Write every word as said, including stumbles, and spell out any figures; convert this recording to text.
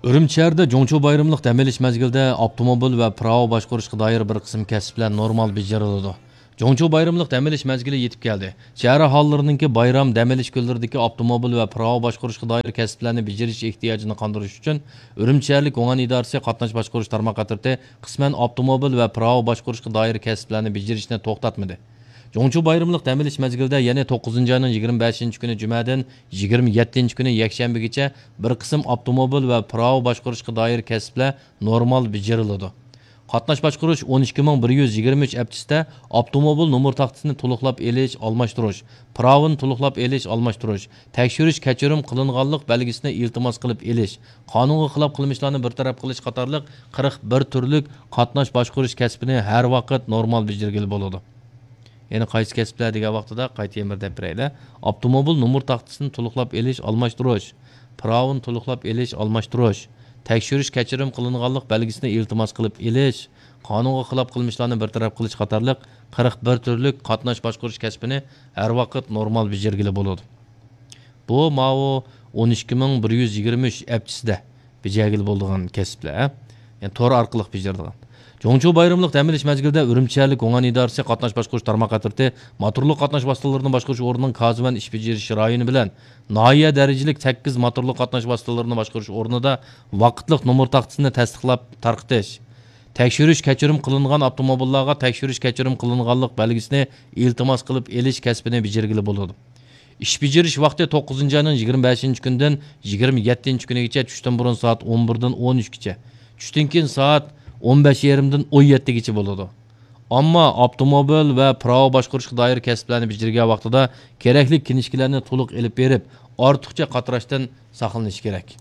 ئۈرۈمچى شەھىرىدە جۇڭچۇ بايرىملىق دەم ئېلىش مەزگىلىدە ئاپتوموبىل ۋە پىراۋا باشقۇرۇشقا دائىر بىر قىسىم كەسىپلەر نورمال بېجىرىلىدۇ. جۇڭچۇ بايرىملىق دەم ئېلىش مەزگىلى يېتىپ كەلدى. شەھەر ئاھالىلىرىنىڭكى بايرام دەم ئېلىش كۈنلىرىدىكى ئاپتوموبىل ۋە پىراۋا باشقۇرۇشقا دائىر كەسىپلەرنى بېجىرىش ئېھتىياجىنى قاندۇرۇش ئۈچۈن ئۈرۈمچى شەھەرلىك گۇڭئەن ئىدارىسى قاتناش باشقۇرۇش تارماق ئەترىتى قىسمەن ئاپتوموبىل ۋە پىراۋا باشقۇرۇشقا دائىر كەسىپلەرنى بېجىرىشنى توختاتمىدى. جۇڭچۇ بايرىملىق دەم ئېلىش مەزگىلىدە يەنى توققۇزىنچى ئاينىڭ يىگىرمە بەشىنچى كۈنى جۈمەدىن يىگىرمە يەتتىنچى كۈنى يەكشەنبىگىچە بىر قىسىم ئاپتوموبىل ۋە پىراۋا باشقۇرۇشقا دائىر كەسىپلەر نورمال بېجىرىلىدۇ. قاتناش باشقۇرۇش ئون ئىككى مىڭ بىر يۈز يىگىرمە ئۈچ ئەپچىسىدە ئاپتوموبىل نومۇر تاختىسىنى تولۇقلاپ ئېلىش، ئالماشتۇرۇش، پىراۋىنى تولۇقلاپ ئېلىش، ئالماشتۇرۇش، تەكشۈرۈش كەچۈرۈم قىلىنغانلىق بەلگىسىنى ئىلتىماس قىلىپ ئېلىش، قانۇنغا خىلاپ قىلمىشلارنى بىر تەرەپ قىلىش قاتارلىق قىرىق بىر تۈرلۈك قاتناش باشقۇرۇش كەسپىنى ھەر ۋاقىت نورمال بېجىرگىلى بولىدۇ. يەنى قايسى كەسىپلەر دېگەن ۋاقتىدا قايتا يەنە بىر دەپ بېرەيلى. ئاپتوموبىل نومۇر تاختىسىنى تولۇقلاپ ئېلىش، ئالماشتۇرۇش، پىراۋىنى تولۇقلاپ ئېلىش، ئالماشتۇرۇش، تەكشۈرۈش كەچۈرۈم قىلىنغانلىق بەلگىسىنى ئىلتىماس قىلىپ ئېلىش، قانۇنغا خىلاپ قىلمىشلارنى بىر تەرەپ قىلىش قاتارلىق قىرىق بىر تۈرلۈك قاتناش باشقۇرۇش كەسپىنى ھەر ۋاقىت نورمال بېجىرگىلى بولىدۇ. بۇ ماۋۇ ئون ئىككى مىڭ بىر يۈز يىگىرمە ئۈچ ئەپچىسىدە بېجەرگىلى بولىدىغان كەسىپلەر، ھە؟ يەنى تور ئارقىلىق بېجىرىدىغان. جۇڭچۇ بايرىملىق دەم ئېلىش مەزگىلىدە ئۈرۈمچى شەھەرلىك گۇڭئەن ئىدارىسى قاتناش باشقۇرۇش تارماق ئەترىتى موتورلۇق قاتناش ۋاسىتىلىرىنى باشقۇرۇش ئورنىنىڭ كازۋەن ئىش بېجىرىش رايونى بىلەن ناھىيە دەرىجىلىك سەككىز موتورلۇق قاتناش ۋاسىتىلىرىنى باشقۇرۇش ئورنىدا ۋاقىتلىق نومۇر تاختىسىنى تەستىقلاپ تارقىتىش، تەكشۈرۈش كەچۈرۈم قىلىنغان ئاپتوموبىللارغا تەكشۈرۈش كەچۈرۈم قىلىنغانلىق بەلگىسىنى ئىلتىماس قىلىپ ئېلىش كەسپىنى بېجىرگىلى بولىدۇ. ئىش بېجىرىش ۋاقتى توققۇزىنچى ئاينىڭ يىگىرمە بەشىنچى كۈنىدىن يىگىرمە يەتتىنچى كۈنىگىچە، چۈشتىن بۇرۇن سائەت ئون بىردىن ئون ئۈچكىچە، چۈشتىن كېيىن سائەت ئون بەش يېرىمدىن ئون يەتتىگىچە بولىدۇ. ئەمما ئاپتوموبىل ۋە پىراۋا باشقۇرۇشقا دائىر كەسىپلەرنى بېجىرگەن ۋاقتىدا كېرەكلىك كىنىشكىلەرنى تولۇق ئېلىپ بېرىپ، ئارتۇقچە قاتراشتىن ساقلىنىش كېرەك.